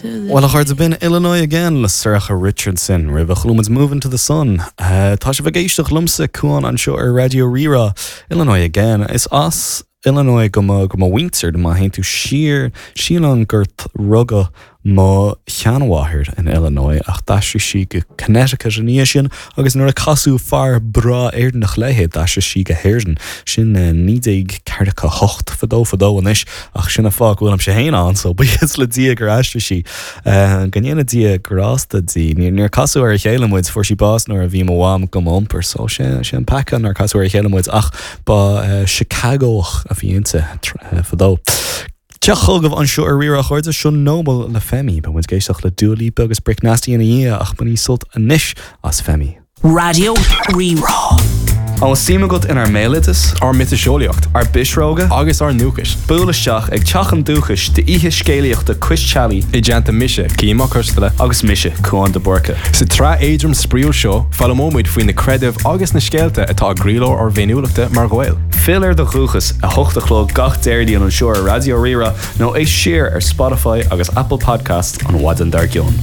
Bhuel, a chairde, b'in Illinois Again le Sorcha Richardson roimhe chuala muid Moving to the Sun. Tá sibh ag éisteacht liomsa, Cuán, anseo ar Raidió Rí-Rá. Illinois Again. Is as Illinois do mo, do mo mhuintir, má théann tú siar, sílim gur rugadh mo sheanmháthair in Illinois ach d'aistrigh sí go Connecticut ina dhiaidh sin agus nuair a casadh fear breá Éireannach léi d'aistrigh sí go hÉirinn. Sin 1948, fadó fadó anois ach sin an fáth go bhfuilimse féin ann so buíochas le Dia gur aistrigh sí. Go ndéana Dia grásta di. Níor casadh ar a chéile muid, fuair sí bás nuair a bhí mo mham do m'iompar so sé an peaca nár casadh ar a chéile muid ach ba Chicagóach a bhí inti fadó. Teacht chugaibh anseo ar Rí-Rá a chairde, seo Noble le Femi. Beidh muid ag éisteacht le Dua Lipa agus Brick Nasty ina dhiaidh ach bainigí sult anois as Femi. Raidió Rí-Rá. An bhfuil suim agat inár mbéaloideas? Ár miotaseolaíocht? Ár bpisreoga? Agus ár ndúchais? Buail isteach ag Teach an Dúchais d'oíche scéalaíochta cois teallaigh. I dteannta mise, Cian Mac Coisteala. Agus mise, Cuán de Búrca. Sa tsraith éadrom spraíúil seo, foghlaimeoidh muid faoi na creidimh agus na scéalta atá i gcroílár ár bhféiniúlachta mar Ghaeil. Fill ar do dhúchas, 8 a chlog gach Déardaoin anseo ar Raidió Rí-Rá nó éist siar ar Spotify agus Apple Podcasts an mhaidin dár gcionn.